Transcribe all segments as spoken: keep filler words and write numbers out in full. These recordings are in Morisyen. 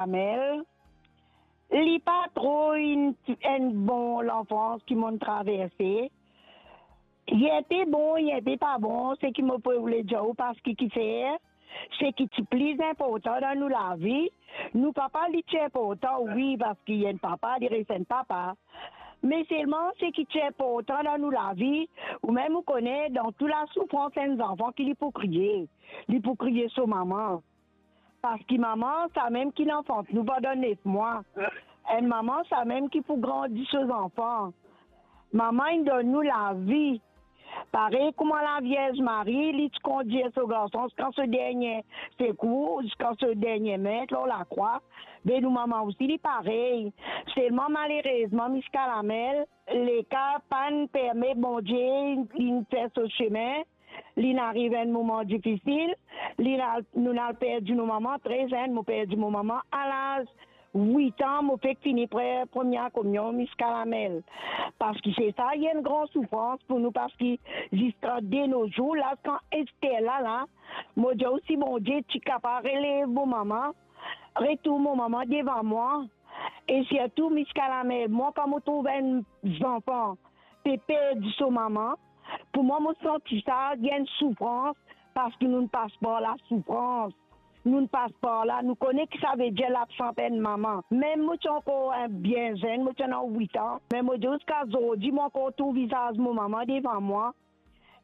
Amel, li pa tro enn, enn bon lanfans ki mo'nn traverse. Li enpe bon, li enpe pa bon, seki mo pou oule dir ou, parski kifer, seki ti pli inportan dan nou lavi. Nou papa, li ti inportan, wi, parski enn papa, li res enn papa. Me selman, seki ti inportan dan nou lavi, ou mem ou kone, dan tou lasoufrans, enn zanfan ki li pou kriye. Li pou kriye so mama. Parski mama, samem ki li anfant nou pandan nef mwa. Enn mama, samem ki pou grandi so zanfan. Mama inn donn nou lavi. Parey kouma Lavierz Mari, li ti kondir so garson ziska so dernie sekour, ziska so dernie met lor lakrwa, be nou mama osi, li parey. Selman, malerezman, Miss Kalamel, leka pa'nn permet Bondie, li fer so sime, li'nn ariv enn moman difisil, li'nn al, nou'nn al perdi nou mama tre zenn. Mo perdi mo mama a laz wit an, mo fek fini pre-, premie kominion, Miss Kalamel. Parski se sa, li enn gran soufrans pou nou, parski ziska de no zour la, kan Ester la, la, mo dir ou, si Bondie ti kapav relev mo mama, retourn mo mama devan mwa, e sirtou, Miss Kalamel, mwa, kan mo trouv enn zanfan pe perdi so mama, pou mwa, mo santi sa, li enn soufrans, parski nou'nn pas par lasoufrans. Nou'nn pas par la, nou kone ki savedir labsans enn mama. Mem mo ti ankor, eh, bien zenn, mo ti ena wit an, me mo dir ou, ziska zordi, mo ankor trouv vizaz mo mama devan mwa.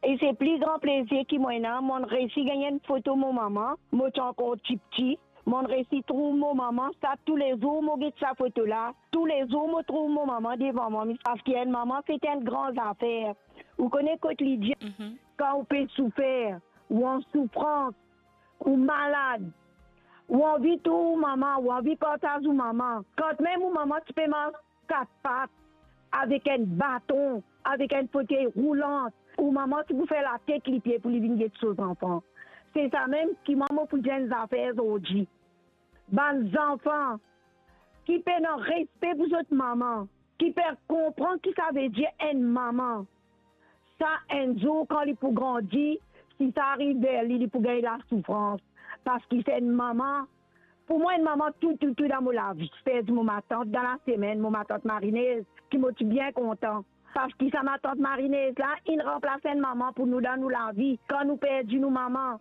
E se pli gran plezir ki mo ena, mo'nn resi gagn enn foto mo mama, mo ti ankor tipti, mo'nn resi trouv mo mama, sa toulezour mo get sa foto la, toulezour mo trouv mo mama devan mwa, parski enn mama, se enn gran zafer. Ou kone kot li dir, mhm, kan ou pe soufer, ou an soufrans, ou malad, ou anvi trouv mama, ou anvi partaz ou mama. Kan mem ou mama ti pe mars kat pat, avek enn baton, avek enn fotey roulan, ou mama ti pou fer latet lipie pou li vinn get so zanfan. Se samem ki mwa mo pou dir enn zafer zordi. Bann zanfan ki pena respe pou zot mama, ki pe konpran ki savedir enn mama, sa enn zour kan li pou grandi, si sa ariv ver li, li pou gagn lasoufrans. Parski se enn mama, pou mwa, enn mama tou, tou, tou dan mo lavi. Perdi mo matant dan lasemenn, mo matant Marinez, ki mo ti bien kontan. Parski sa matant Marinez la, inn ranplas enn mama pou nou dan nou lavi, kan nou perdi nou mama.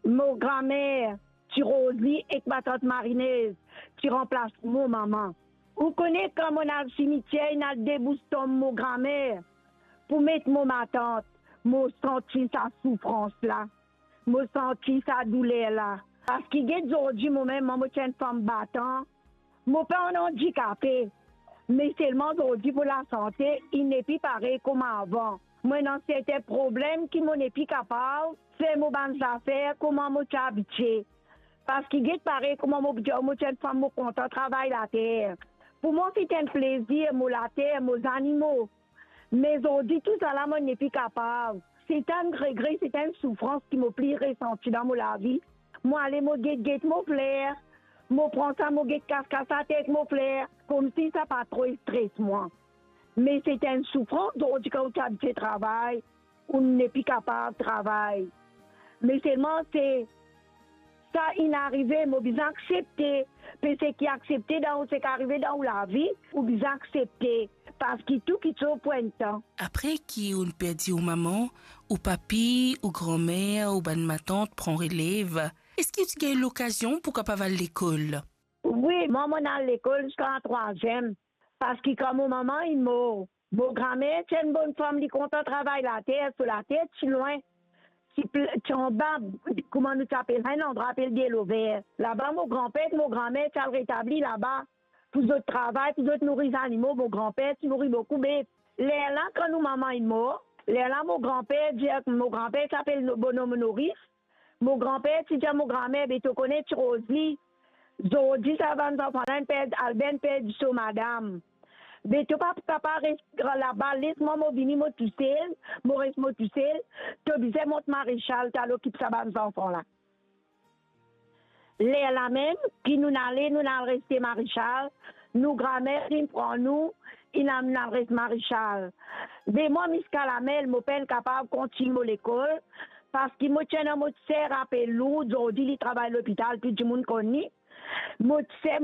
Mo gramer, ti Rozi ek matant Marinez, ti ranplas mo mama. Ou kone, kan mo'nn al simitier, inn al debous tonm mo gramer pou met mo matant, mo santi sa soufrans la, mo santi sa douler la. Parski get zordi, mo mem, mwa, mo ti enn fam batan, mo pa enn andikape, me selman zordi mo lasante, li nepli parey kouma avan. Mo ena sertin problem ki mo nepli kapav fer mo bann zafer kouma mo ti abitie. Parski get parey kouma mo dir ou, mo ti enn fam, mo kontan travay later. Pou mwa, se ti enn plezir, mo later, mo zanimo. Me zordi, tousala, mo nepli kapav. Se ti enn regre, se ti enn soufrans ki mo pli resanti dan mo lavi. Mo ale, mo get, get mo fler. Mo pran sa, mo get kas, kas ater ek mo fler. Koumsi sa pa tro stres mwa. Me se ti enn soufrans, zordi kan ou ti abitie travay, ou nepli kapav travay. Me selman se sa inn arive, mo bizin aksepte. Pe seki aksepte dan ou, seki arive dan ou lavi, ou bizin aksepte, parski tou kiksoz pou enn tan. Apre ki ou'nn perdi ou mama, ou papi, ou gramer, ou bann matant pran relev, eski ou ti gagn lokazion pou kapav al lekol? Wi, mwa, mo'nn al lekol ziska trwaziem. Parski kan mo mama inn mor, mo gramer ti enn bonn fam, li kontan travay later, so later ti lwin, ti pl-, ti anba, kouma nou ti apel sa, enn landrwa apel Delover. Laba mo granper ek mo gramer ti al retabli laba pou zot travay, pou zot nouri zanimo. Mo granper ti nouri boukou bef. Lerla, kan nou mama inn mor, lerla mo granper dir, mo granper ti apel no-, bonom Noris, mo granper ti dir mo gramer, "Be to kone, ti Rozi, zordi sa bann zanfan la inn perdi, Albert inn perdi so madam. Be to pa pou kapav res laba, les mwa, mo vini mo tousel, mo res mo tousel, to bizin mont Marechal, to al okip sa bann zanfan la." Lerla mem ki nou'nn ale, nou'nn al reste Marechal, nou gramer inn pran nou, inn amenn al res Marechal. Me mwa, Miss Kalamel, mo pa'nn kapav kontign mo lekol, parski mo ti ena mo ti ser apel Lourd, zordi li travay lopital, tou dimoun konn li. Mo ti fer